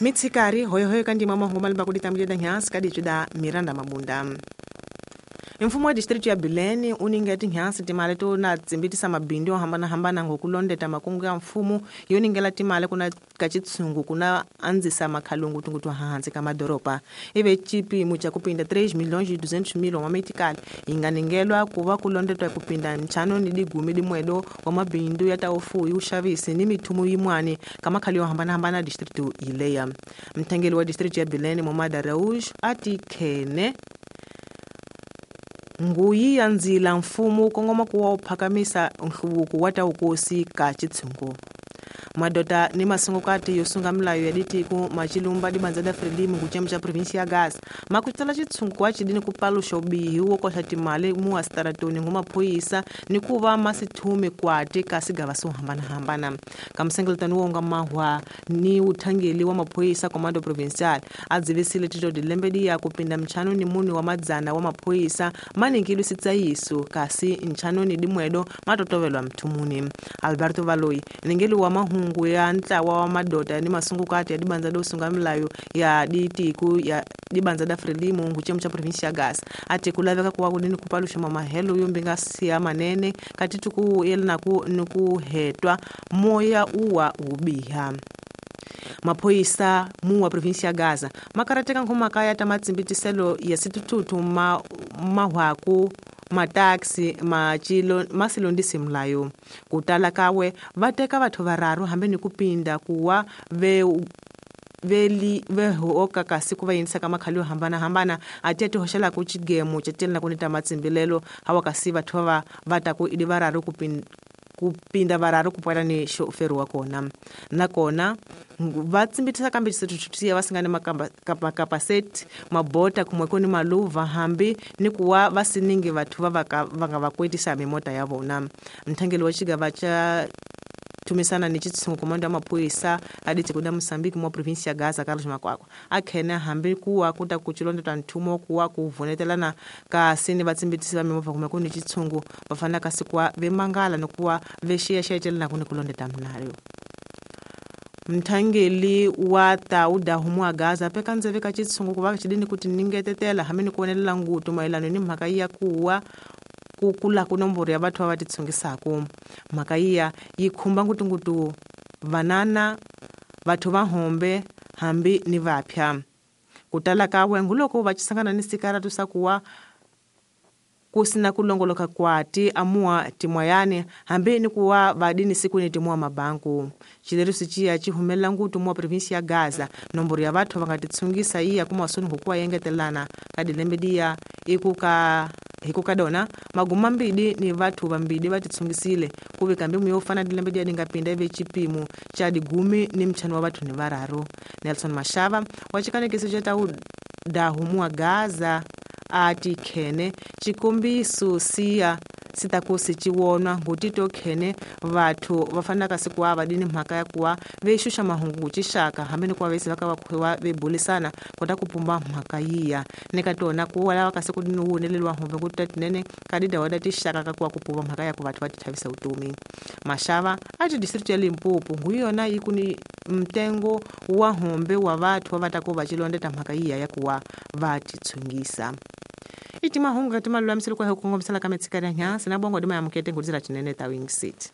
Mitsikari hoyohoyo ka ndima mahungu malimba kuditambulida nhansi kadicida Miranda Mabunda. Mfumo wa district ya Bilene u ninga tinhansi timali to na tsimbitisa mabindzu yo hambanahambana ngokulondeta makungu ya mfumo yo ningela timali kuna ka chitsungu kuna andzisa makhalungu tungutu hansi ka madoropa ive chipimo cha kupinda 3,200,000 wa metikali yi nga ningelwa ku va ku londetwa kupinda ntlhanu ni digumi dimwedo wa mabindzu ya ta ufuyi uxavisi ni mithumu yin'wani ka makhale yo hambanahambana district yileya. Mthengeli wa district ya Bilene Momada Rauj a ti khene nguyi ya ndzila mfumo kongoma ku wa wu phakamisa nhluvuko wa ta wukosi ka chitshungu. Madota ni masungukati yo sunga milayo ya ditiko machilumba dibanza da Frelimo kuchema cha provinsi ya Gaza makutsala chitshungu wa chidini kupalusha ubihi wo koxa timali muwa staratoni ngumaphoyisa ni ku va masithume kwati ka sigava swo hambanahambana. Ka msengeletano wo nga mahwa ni uthangeli wa maphoyisa comando provincial a dzivisile tito dilembe diya kupinda mchano ni muni wa madzana wa maphoyisa maningilwe sitsayiso kasi nchano ni dimwedo matotovelwa mthumuni. Alberto Valoi ningeli wa mahungu ya ntlawa wa madota ni masungukati ya dibanza do sunga milayo ya ditiku ya dibanza da Frelimo nguchemu cha provinsi ya Gaza ati kulaveka kuwa kudini kupalusha mamahelo yo mbinga siya manene kati tuku yelena ku nukuhetwa moya uwa ubiha. Maphoyisa mu wa provinsi ya Gaza makarateka nkhumaka ta matsimbitiselo ya sitututu mahwaku mataxi machilo masilondisi mlayo kutala kawe vateka vathu vararu hambi ni kupinda kuwa ve vehoka kasi ku va yinisa ka makhali yo hambanahambana ati ti hoxela ku chigemo cha telena ku ni ta matsimbilelo hawa kasi vathu va va ta ku idi vararu kupinda vararu kupwela ni xoferi wa kona nakona va tsimbitisa kambe xisithuthusiya va singani makapaseti mabota kumwe ku ni maluva hambi ni kuwa va siningi vathu va va nga va kwetisa mimota ya vona. Mthangeli wa xigava xa thumisana ni chitsungu komando ya maphoyisa a ditiko da Mozambique mwa provinsi ya Gaza Carlos Makwakwa a khene hambi kuwa kuta ku chilondota nthumo kuwa ku vunetelana kasi ni vatsimbitisi va mimovha kumwe ku ni chitsungu va fanela kasi kuwa vemangala ni kuwa vexiyaxiya celena ku ni kulondeta minayo. Mthangeli wa tauda humu wa Gaza peka ndzeve ka chitsungu ku va xidini ku tiningetetela hambi ni ku vonelela ngutu mayelano ni mhaka ya kuwa ku kula ku nomboro ya vathu va titshungisaku. Mhaka iya yi khumba ngutungutu vanana vathu va hombe hambi ni vaphya. Ku tala ka wengu loko va chisangana ni sikaratu sa kuwa ku sina ku longoloka kwati amuwa timwayani hambi ni kuwa vadini siku ni timuwa mabanku. Xileriso ciya ci humelela ngutu muwa provinsi ya Gaza nomboro ya vathu va nga titshungisa iya kuma soni hukuwa yengetelana ka dilembe diya ikuka hikuka dona maguma mbidi ni vathu vambidi va titshungisile ku vika mbimu yo fana dilembe diya dinga pinda ive chipimo cha digumi ni mchano wa vathu ni vararu. Nelson Mashava wa chikanekiso cha tauda humuwa Gaza ati khene chikombiso siya sitakosi chiwonwa ngutito khene vathu va fanaka siku wa vadini mhaka ya kuwa vexuxa mahungu chixaka hambi ni kuwa vesi va ka va khuwa vebulisana kota ku pumba mhaka yiya ni ka tona ku lava kasi ku ni wuneleliwa humbe ku ta tinene ka didawa da tixaka ka kuwa ku pumba mhaka ya ku vathu va tithavisa vutomi. Mashava a ti district ya Limpopo ngu yona yi ku ni mtengo wa hombe wa vathu va ta ku va chilondeta mhaka yiya ya kuwa va titshungisa. Iti mahungu katima lulamiselo kwa hukongomisela ka metsikari ya nyansi na bongo dima ya mukete ngudizira chinene ta Wing City.